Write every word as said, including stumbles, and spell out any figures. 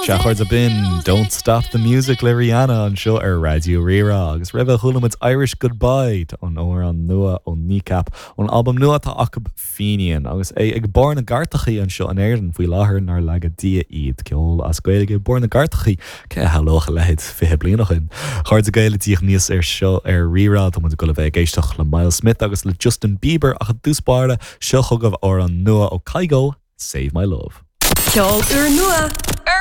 Sea, a chairde, b'in Don't Stop the Music le Rihanna anseo ar Raidió Rí-Rá agus roimhe chuala muid Irish Goodbye an amhrán nua ó Kneecap ón albam nua atá acu Fenian agus é ag barr na gcairteacha anseo in Éirinn faoi láthair nár laga Dia iad ceol as Gaeilge barr na gcairteacha cé a shamhlódh a leithéid fiche bliain ó shin. A chairde Gael ag tíocht aníos anseo ar Rí-Rá tá muid ag dul a bheith ag éisteacht le Myles Smith agus le Justin Bieber ach i dtús báire seo chugaibh amhrán nua ó Kygo, Save My Love. Ceol úrnua ar